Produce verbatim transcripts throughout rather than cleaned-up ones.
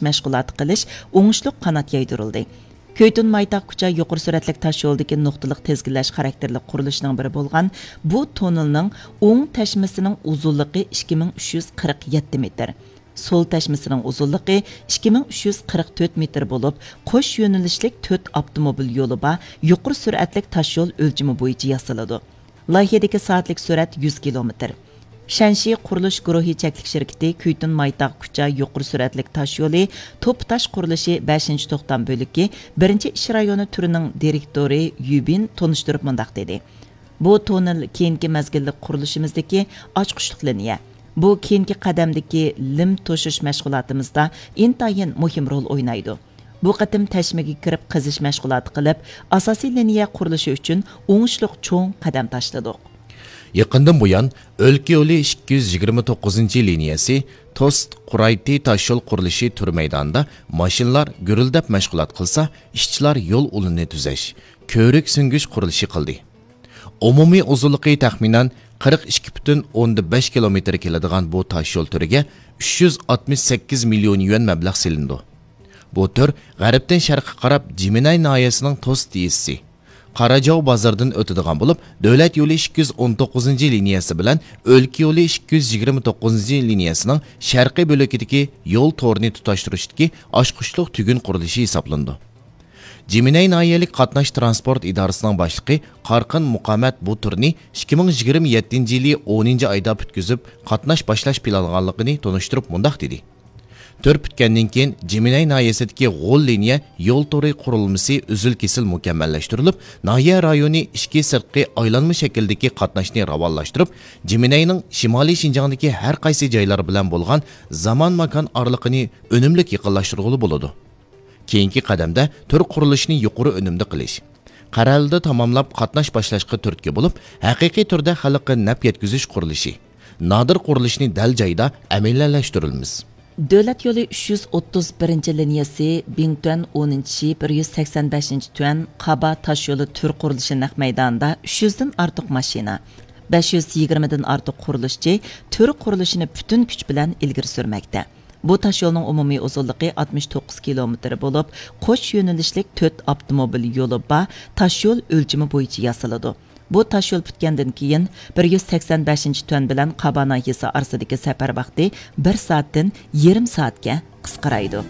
مەشغۇلاتى قىلىش ئوڭۇشلۇق قانات يايدۇرۇلدى. كۈيتۇن مايتاغ كۇچا يۇقىرى سۈرئەتلىك تاشيولىدىكى نۇقتىلىق تىزگىنلەش خاراكتېرلىك قۇرۇلۇشىنىڭ بىرى بولغان بۇ توننېلنىڭ ئوڭ تەشمىسىنىڭ ئۇزۇنلۇقى ئىككى مىڭ ئۈچ يۈز قىرىق يەتتە مېتىر، سول تەشمىسىنىڭ ئۇزۇنلۇقى ئىككى مىڭ ئۈچ يۈز قىرىق تۆت مېتىر بولۇپ، قوش يۆنىلىشلىك تۆت ئاپتوموبىل يولى بار يۇقىرى سۈرئەتلىك تاشيول ئۆلچىمى بويىچە ياسىلىدۇ. لايىھەدىكى سائەتلىك سۈرئەت يۈز كىلومېتىر. شەنشى قۇرۇلۇش گۇرۇھى چەكلىك شىركىتى كۈيتۇن مايتاغ كۇچا يۇقىرى سۈرئەتلىك تاشيولى توپا تاش قۇرۇلۇشى بەشىنچى توختام بۆلىكى بىرىنچى ئىش رايونى تۈرىنىڭ دىرېكتورى يۈبىن تونۇشتۇرۇپ مۇنداق دېدى: بۇ توننېل كېيىنكى مەزگىللىك قۇرۇلۇشىمىزدىكى ئاچقۇچلۇق لىنىيە. بۇ كېيىنكى قەدەمدىكى لىم توشۇش مەشغۇلاتىمىزدا ئىنتايىن مۇھىم رول ئوينايدۇ. بۇ قېتىم تەشمىگە كىرىپ قېزىش مەشغۇلاتى قىلىپ، ئاساسىي لىنىيە قۇرۇلۇشى ئۈچۈن ئوڭۇشلۇق چوڭ قەدەم تاشلىدۇق. يېقىندىن بۇيان، ئۆلكە يولى ئىككى يۈز يىگىرمە توققۇزىنچى لىنىيەسى، توست، قۇرايتى تاشيول قۇرۇلۇشى تۈر مەيدانىدا ماشىنىلار گۈرۈلدەپ مەشغۇلات قىلسا، ئىشچىلار يول ئۇلىنى تۈزەش، كۆۋرۈك سۈڭگۈچ قۇرۇلۇشى قىلدى. ئومۇمىي ئۇزۇنلۇقى تەخمىنەن قىرىق ئىككى پۈتۈن ئوندىن بەش كىلومېتىر كېلىدىغان بۇ تاشيول تۈرىگە ئۈچ يۈز ئاتمىش سەككىز مىليون يۈەن مەبلەغ سېلىنىدۇ. بۇ تۈر غەربتىن شەرققە قاراپ جىمىنەي ناھىيەسىنىڭ توست يېزىسى، قاراجاۋ بازىرىدىن ئۆتىدىغان بولۇپ، دۆلەت يولى ئىككى يۈز ئون توققۇزىنچى لىنىيەسى بىلەن ئۆلكە يولى ئىككى يۈز يىگىرمە توققۇزىنچى لىنىيەسىنىڭ شەرقىي بۆلىكىدىكى يول تورىنى تۇتاشتۇرۇشتىكى ئاچقۇچلۇق تۈگۈن قۇرۇلۇشى ھېسابلىنىدۇ. جىمىنەي ناھىيەلىك قاتناش تىرانسپورت ئىدارىسىنىڭ باشلىقى قارقىن مۇقامەت بۇ تۈرنى ئىككى مىڭ يىگىرمە يەتتىنچى يىلى ئونىنچى ئايدا پۈتكۈزۈپ، قاتناش باشلاش پىلانلىغانلىقىنى تونۇشتۇرۇپ مۇنداق دېدى: تۈر پۈتكەندىن كېيىن، جىمىنەي ناھىيەسىدىكى غول لىنىيە يول تورى قۇرۇلمىسى ئۈزۈل-كېسىل مۇكەممەللەشتۈرۈلۈپ، ناھىيە رايونى ئىچكى-سىرتقى ئايلانما شەكىلدىكى قاتناشنى راۋانلاشتۇرۇپ، جىمىنەينىڭ شىمالىي شىنجاڭدىكى ھەر قايسى جايلار بىلەن بولغان زامان-ماكان ئارىلىقىنى ئۈنۈملۈك يېقىنلاشتۇرغىلى بولىدۇ. كېيىنكى قەدەمدە تۈر قۇرۇلۇشىنى يۇقىرى ئۈنۈمدە قىلىش، قەرەلىدە تاماملاپ قاتناش باشلاشقا تۈرتكە بولۇپ، ھەقىقىي تۈردە خەلققە نەپ يەتكۈزۈش قۇرۇلۇشى، نادىر قۇرۇلۇشنى دەل جايىدا ئەمەلىيلەشتۈرىمىز. دۆلەت يولى ئۈچ يۈز ئوتتۇز بىرىنچى لىنىيەسى بىڭتۈەن ئونىنچى، بىر يۈز سەكسەن بەشىنچى تۈەن، قابا تاشيولى تۈر قۇرۇلۇشى نەق مەيدانىدا ئۈچ يۈزدىن ئارتۇق ماشىنا، بەش يۈز يىگىرمىدىن ئارتۇق قۇرۇلۇشچى تۈر قۇرۇلۇشىنى پۈتۈن كۈچ بىلەن ئىلگىرى سۈرمەكتە. بۇ تاشيولنىڭ ئومۇمىي ئۇزۇنلۇقى ئاتمىش توققۇز كىلومېتىر بولۇپ، قوش يۆنىلىشلىك تۆت ئاپتوموبىل يولى بار تاشيول ئۆلچىمى بويىچە ياسىلىدۇ. بۇ تاشيول پۈتكەندىن كېيىن، بىر يۈز سەكسەن بەشىنچى تۈەن بىلەن قابا ناھىيەسى ئارىسىدىكى سەپەر ۋاقتى بىر سائەتتىن يېرىم سائەتكە قىسقىرايدۇ.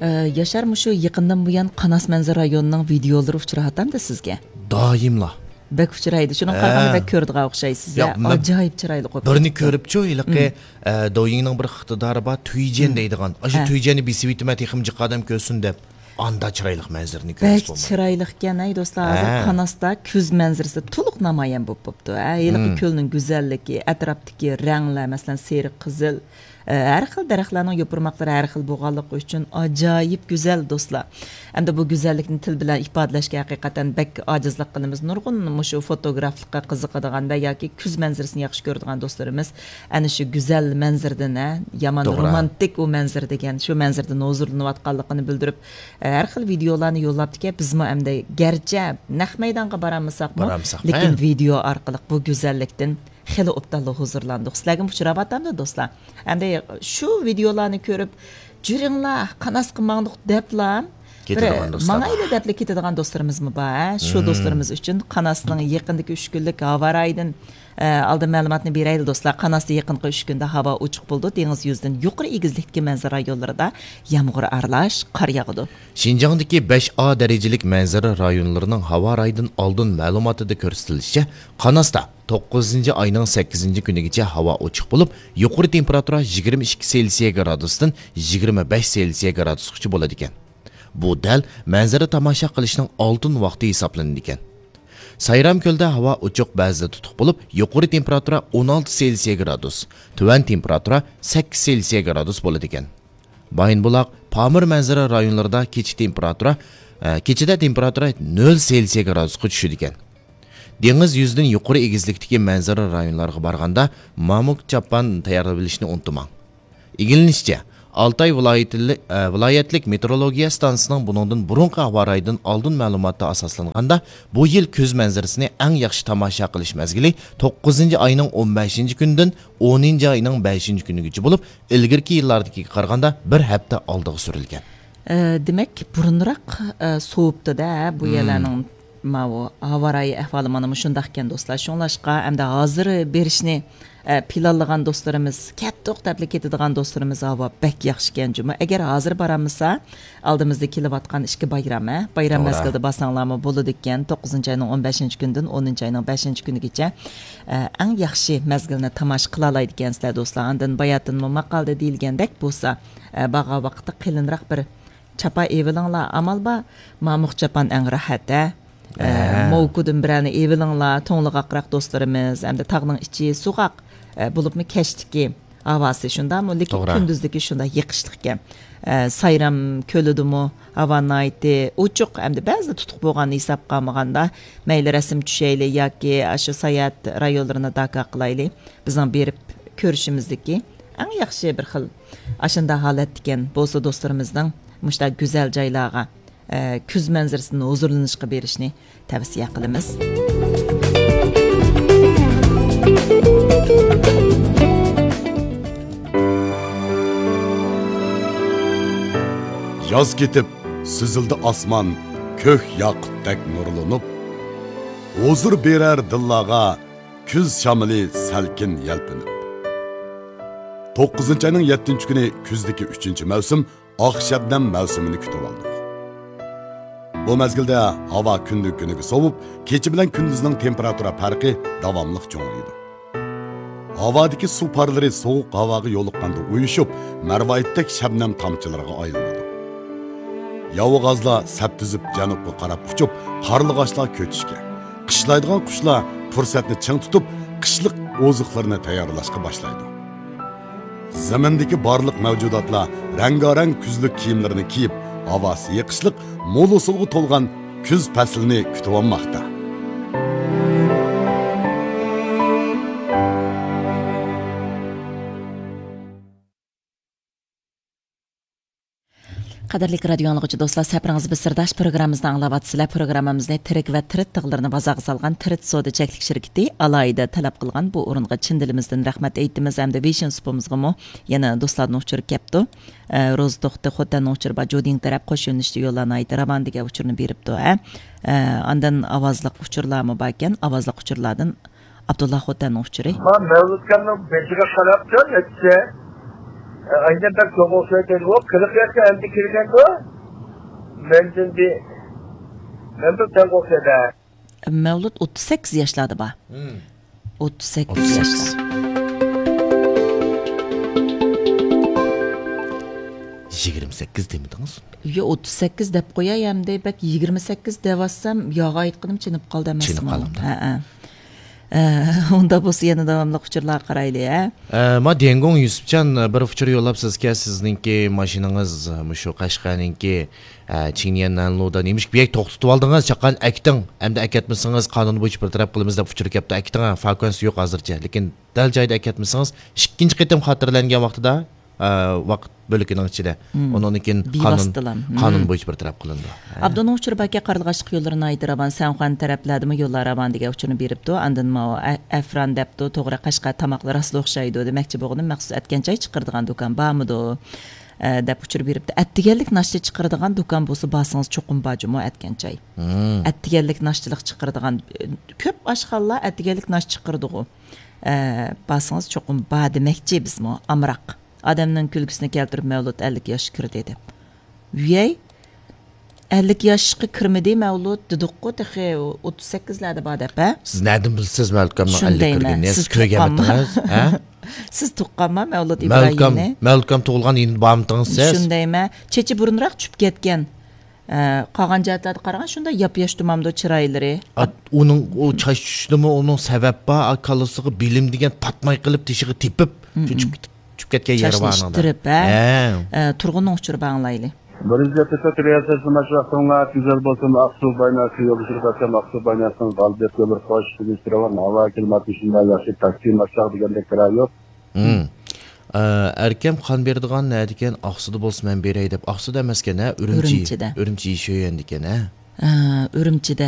ئە، ياشار، مۇشۇ يېقىندىن بۇيان قاناس مەنزىرە رايونىنىڭ ۋىدىيولىرى ئۇچراۋاتامدۇ سىزگە؟ دائىملا. بەك ئۇچرايدۇ. شۇنىڭغا قارىغاندا ھە. بەك كۆرىدىغان ئوخشايسىز، ياق، يا؟ مەن ئاجايىپ چىرايلىق بولۇپ بىرنى كېتىپتۇ. كۆرۈپچۇ، ھېلىقى، مم. ئە، دويىڭنىڭ بىر ئىقتىدارى بار، تۈيجيەن مم. دەيدىغان. ئاشۇ ھە. تۈيجيەننى بېسىۋېتىمەن، تېخىمۇ جىق ئادەم كۆرسۇن دەپ. ئاندا چىرايلىق مەنزىرىنى بەك كۆرسە بولمايدۇ. چىرايلىقكەن، ئەي دوستلار. ھازىر ھە. قاناستا كۈز مەنزىرىسى تولۇق نامايان بولۇپ بوپتۇ. ھە، ھېلىقى مم. كۆلنىڭ گۈزەللىكى، ئەتراپتىكى رەڭلەر، مەسىلەن، سېرىق، قىزىل، ئە، ھەر خىل دەرەخلەرنىڭ يوپۇرماقلىرى ھەر خىل بولغانلىقى ئۈچۈن ئاجايىپ گۈزەل، دوستلار. ئەمدى بۇ گۈزەللىكنى تىل بىلەن ئىپادىلەشكە ھەقىقەتەن بەك ئاجىزلىق قىلىمىز. نۇرغۇن مۇشۇ فوتوگرافلىققا قىزىقىدىغان ۋە ياكى كۈز مەنزىرىسىنى ياخشى كۆرىدىغان دوستلىرىمىز ئەنە شۇ گۈزەل مەنزىرىدىن، ھە، يامان توغرا. رومانتىك ئۇ مەنزىرە دېگەن، شۇ مەنزىرىدىن ھۇزۇرلىنىۋاتقانلىقىنى بىلدۈرۈپ، ئە، ھەر خىل ۋىدىيولارنى يوللاپتىكەن. بىزمۇ ئەمدى گەرچە نەق مەيدانغا بارالمىساقمۇ، بارالمىساق، لېكىن ھە. ۋىدىيو ئارقىلىق بۇ گۈزەللىكتىن خېلى ئوبدانلا ھۇزۇرلاندۇق. سىلەرگىمۇ ئۇچراۋاتامدۇ، دوستلار؟ ئەمدى شۇ ۋىدىيولارنى كۆرۈپ، «جۈرۈڭلار، قاناسقا ماڭدۇق» دەپلا، بىر كېتىدىغان دوستلار ماڭايلى بار. دەپلا كېتىدىغان دوستلىرىمىزمۇ بار، ھە؟ شۇ مم. دوستلىرىمىز ئۈچۈن قاناسنىڭ يېقىندىكى ئۈچ كۈنلۈك ھاۋا رايىدىن، ئە، ئالدىن مەلۇماتنى بېرەيلى، دوستلار. قاناستا يېقىنقى ئۈچ كۈندە ھاۋا ئوچۇق بولىدۇ. دېڭىز يۈزىدىن يۇقىرى ئېگىزلىكتىكى مەنزىرە رايونلىرىدا يامغۇر ئارىلاش قار ياغىدۇ. شىنجاڭدىكى بەش ئا دەرىجىلىك مەنزىرە رايونلىرىنىڭ ھاۋا رايىدىن ئالدىن مەلۇماتىدا كۆرسىتىلىشىچە، قاناستا توققۇزىنچى ئاينىڭ سەككىزىنچى كۈنىگىچە ھاۋا ئوچۇق بولۇپ، يۇقىرى تېمپېراتۇرا يىگىرمە ئىككى سېلسىيە گرادۇستىن يىگىرمە بەش سېلسىيە گرادۇسقىچە بولىدىكەن. بۇ دەل مەنزىرە تاماشا قىلىشنىڭ ئالتۇن ۋاقتى ھېسابلىنىدىكەن. سايرامكۆلدە ھاۋا ئوچۇق، بەزىدە تۇتۇق بولۇپ، يۇقىرى تېمپېراتۇرا ئون ئالتە سېلسىيە گرادۇس، تۆۋەن تېمپېراتۇرا سەككىز سېلسىيە گرادۇس بولىدىكەن. بايىنبۇلاق، پامىر مەنزىرە رايونلىرىدا كېچە تېمپېراتۇرا، ئە، كېچىدە تېمپېراتۇرا نۆل سېلسىيە گرادۇسقا چۈشىدىكەن. دېڭىز يۈزىدىن يۇقىرى ئېگىزلىكتىكى مەنزىرە رايونلارغا بارغاندا، مامۇك چاپان تەييارلىۋېلىشنى ئۇنتۇماڭ. ئىگىلىنىشىچە، ئالتاي ۋىلايىتىلىك، ئە، ۋىلايەتلىك مېتېئورولوگىيە ئىستانسىسىنىڭ بۇنىڭدىن بۇرۇنقى ھاۋا رايىدىن ئالدىن مەلۇماتتا ئاساسلانغاندا، بۇ يىل كۈز مەنزىرىسىنى ئەڭ ياخشى تاماشا قىلىش مەزگىلى توققۇزىنچى ئاينىڭ ئون بەشىنچى كۈنىدىن ئونىنچى ئاينىڭ بەشىنچى كۈنىگىچە بولۇپ، ئىلگىرىكى يىللاردىكىگە قارىغاندا بىر ھەپتە ئالدىغا سۈرۈلگەن. ئە، دېمەك، بۇرۇنراق، ئە، سوۋۇپتۇ-دە، بۇ يەرلەرنىڭ ماۋۇ ھاۋا رايى ئەھۋالى مانا مۇشۇنداق ئىكەن، دوستلار. شۇڭلاشقا، ئەمدى ھازىر بېرىشنى، ئە، پىلانلىغان دوستلىرىمىز، كەتتۇق دەپلا كېتىدىغان دوستلىرىمىز ھاۋا بەك ياخشىكەن جۇمۇ. ئەگەر ھازىر بارالمىسا، ئالدىمىزدا كېلىۋاتقان ئىككى بايرام، ھە؟ بايرام مەزگىلىدە بارساڭلارمۇ بولىدىكەن. توققۇزىنچى ئاينىڭ ئون بەشىنچى كۈنىدىن ئونىنچى ئاينىڭ بەشىنچى كۈنىگىچە، ئە، ئەڭ ياخشى مەزگىلنى تاماشا قىلالايدىكەنسىلەر، دوستلار. ئاندىن باياتىنمۇ ماقالىدە دېيىلگەندەك بولسا، ئە، بارغان ۋاقىتتا قېلىنراق بىر چاپان ئېۋىلىڭلار، ئامال بار، مامۇق چاپان ئەڭ راھەت، ھە؟ ئە، ھە. موۋكۇدىن بىرەرنى ئېۋىلىڭلار، توڭلىغاقراق دوستلىرىمىز، ھەمدە تاغنىڭ ئىچى سوغۇق، ئە، بولۇپمۇ كەچلىكى ھاۋاسى شۇنداقمۇ؟ لېكىن توغرا. كۈندۈزلۈكى شۇنداق يېقىشلىق ئىكەن. ئە، سايرام كۆلىدىمۇ ھاۋا ناھايىتى ئوچۇق، ھەمدە بەزىدە تۇتۇق بولغاننى ھېسابقا ئالمىغاندا، مەيلى رەسىم چۈشەيلى ياكى ئاشۇ ساياھەت رايونلىرىنى داكا قىلايلى. بىزنىڭ بېرىپ كۆرۈشىمىزدىكى ئەڭ ياخشى بىر خىل ئاشۇنداق ھالەتتىكەن بولسا دوستلىرىمىزنىڭ مۇشۇنداق گۈزەل جايلارغا، ئە، كۈز مەنزىرىسىدىن ھۇزۇرلىنىشقا بېرىشنى تەۋسىيە قىلىمىز. ياز كېتىپ، سۈزۈلدى ئاسمان كۆك ياقۇتتەك نۇرلىنىپ، ھۇزۇر بېرەر دىللارغا كۈز شامىلى سەلكىن يەلپۈنۈپ. توققۇزىنچى ئاينىڭ يەتتىنچى كۈنى كۈزدىكى ئۈچىنچى مەۋسۇم ئاق شەبنەم مەۋسۇمىنى كۈتۈۋالدۇق. بۇ مەزگىلدە ھاۋا كۈندىن كۈنگە سوۋۇپ، كېچە بىلەن كۈندۈزنىڭ تېمپېراتۇرا پەرقى داۋاملىق چوڭىيىدۇ. ھاۋادىكى سۇ پارلىرى سوغۇق ھاۋاغا يولۇققاندا ئۇيۇشۇپ، مەرۋايىتتەك شەبنەم تامچىلىرىغا ئايلىنىدۇ. ياۋىغازلار سەپ تۈزۈپ جەنۇبقا قاراپ ئۇچۇپ، قارلىغاچلار كۆچۈشكە، قىشلايدىغان قۇشلار پۇرسەتنى چىڭ تۇتۇپ، قىشلىق ئوزۇقلىرىنى تەييارلاشقا باشلايدۇ. زېمىندىكى بارلىق مەۋجۇداتلار رەڭگارەڭ كۈزلۈك كىيىملىرىنى كىيىپ، ھاۋاسى يېقىشلىق، مول ھوسۇلغا تولغان كۈز پەسلىنى كۈتۈۋالماقتا. قەدىرلىك رادىيو ئاڭلىغۇچى دوستلار، سەپىرىڭىز بىر سىرداش پروگراممىمىزنى ئاڭلاۋاتىسىلەر. پروگراممىمىزنى تىرىك ۋە تىرىت تىغلىرىنى بازارغا سالغان تىرىت سودا چەكلىك شىركىتى ئالاھىدە تەلەپ قىلغان بۇ ئورۇنغا چىن دىلىمىزدىن رەھمەت ئېيتىمىز ھەمدە ۋېيشىن سۇپىمىزغىمۇ يەنە دوستلاردىن ئۇچۇر كەپتۇ. ئە، روزا توختى خوتەننىڭ ئۇچۇرى بار، جۇدىڭ تەرەپ قوش يۆنىلىشتە يوللار ناھايىتى راۋان دېگەن ئۇچۇرنى بېرىپتۇ، ھە. ئە، ئاندىن ئاۋازلىق ئۇچۇرلارمۇ باركەن، ئاۋازلىق ئۇچۇرلاردىن ئابدۇللا خوتەننىڭ ئۇچۇرى. ما مەۋلۇتكەمنىڭ بېشىغا قاراپتۇ، نەچچە. ئە، ئاينەن بەك چوڭ ئوخشايدۇ، قىرىق ياشقا ئەمدى كىرگەندۇ. مەندىن بىر، مەن بىر چوڭ ئوخشايدۇ. مەۋلۇت ئوتتۇز سەككىز ياشلاردا بار. مم. ئوتتۇز سەككىز ياشلار. يىگىرمە سەككىز دېمىدىڭىز؟ يا، ئوتتۇز سەككىز دەپ قوياي، ئەمدى بەك يىگىرمە سەككىز دەۋاتسام، ياغا ئېيتقىنىم چېنىپ قالدى ئەمەسمۇ؟ چېنىپ قالدى. ھەئە. ئە، ئۇنداق بولسا يەنە داۋاملىق ئۇچۇرلارغا قارايلى، ھە؟ ئە، ما ديەنگوڭ يۈسۈپجان، ئە، بىر ئۇچۇر يوللاپسىزكەن، سىزنىڭكى ماشىنىڭىز، ئە، مۇشۇ قەشقەرنىڭكى، ئە، چىڭنيەن نەنلۇدا نېمىشقا بۇ يەرگە توختىتىۋالدىڭىز؟ چاققان ئەكىتىڭ، ئەمدى ئەكەتمىسىڭىز قانۇن بويىچە بىر تەرەپ قىلىمىز دەپ ئۇچۇر كەپتۇ. ئەكىتىڭ، ھە، فاكۇەنسى يوق ھازىرچە، لېكىن دەل جايىدا ئەكەتمىسىڭىز، ئىككىنچى قېتىم خاتىرىلەنگەن ۋاقتىدا، ئە، ۋاقىت بۆلىكىنىڭ ئىچىدە. مم. ئۇنىڭدىن كېيىن قانۇن، بىۋاسىتىلا. مم. قانۇن بويىچە بىر تەرەپ قىلىنىدۇ. ھە. ئابدۇنىڭ ئۇچۇرى باركەن، قارلىغاچلىق يوللىرى ناھايىتى راۋان، سەنخۇەن تەرەپلەردىمۇ يوللار راۋان دېگەن ئۇچۇرنى بېرىپتۇ. ئاندىن ماۋۇ ئە-، ئەفران دەپتۇ، توغرا، قەشقەر تاماقلىرى راستلا ئوخشايدۇ. دېمەكچى بولغىنىم، مەخسۇس ئەتكەن چاي چىقىرىدىغان دۇكان بارمىدۇ؟ ئە، دەپ ئۇچۇر بېرىپتۇ. ئەتىگەنلىك ناشتا چىقىرىدىغان دۇكان بولسا بارسىڭىز چوقۇم بار جۇمۇ ئەتكەن چاي. مم. ئەتىگەنلىك ناشتىلىق چىقىرىدىغان، ئە، كۆپ ئاشخانىلار ئەتىگەنلىك ناشتا چىقىرىدىغۇ. ئە، بارسىڭىز چوقۇم بار دېمەكچى بىزمۇ، ئامراق. ئادەمنىڭ كۈلكىسىنى كەلتۈرۈپ مەۋلۇت ئەللىك ياشقا كىردى دەپ. ۋىيەي، ئەللىك ياشقا كىرمىدى مەۋلۇت دېدۇققۇ، تېخى ئوتتۇز سەككىزلەردە بار دەپ، ھە؟ سىز نەدىن بىلىسىز مەۋلۇتكامنىڭ ئەللىككە كىرگىنىنى؟ سىز كۆرگەنمىدىڭىز؟ ھە؟ سىز تۇغقانما مەۋلۇت ئىبراھىمنى؟ مەۋلۇتكام تۇغۇلغان يىلىدا بارمىدىڭىز سىز؟ شۇندايمەن. چېچى بۇرۇنراق چۈشۈپ كەتكەن. ئە، قالغان جەھەتلەردە قارىغان شۇنداق ياپياش تۇمامدۇ چىرايلىرى. ئا، ئۇنىڭ ئۇ چاچ چۈشۈشىدىمۇ ئۇنىڭ سەۋەب بار، ئا، كاللىسىغا بىلىم دېگەن پاتماي قېلىپ تېشىغا تېپىپ، مم، شۇ چۈشۈپ، چۈشۈپ كەتكەن يېرى بار ئانىڭدا. چاچنى ئىتتىرىپ، ھە؟ ھە. ئە، تۇرغۇننىڭ ئۇچۇرى بار ئاڭلايلى. بىرىنچى ئېپىزود رىياسەتچى ماش ۋاقتىڭلار گۈزەل بولسۇن، ئاقسۇ بايناسى يولدىشىغا بەرسەم، ئاقسۇ بايناسىنىڭ غالىبىيەت يوللىرى خوش، تۈگۈش راۋان، ھاۋا كىلىماتى شۇنداق ياخشى، تاكسى ماشاق دېگەندەك كىرا يوق. مم. ئەركەم قان بېرىدىغان نەدىكەن؟ ئاقسۇدا بولسا مەن بېرەي دەپ. ئاقسۇدا ئەمەسكەن ھە، ئۈرۈمچى. ئۈرۈمچىدە. ئۈرۈمچى شۆيەندىكەن ھە. ئە، ئۈرۈمچىدە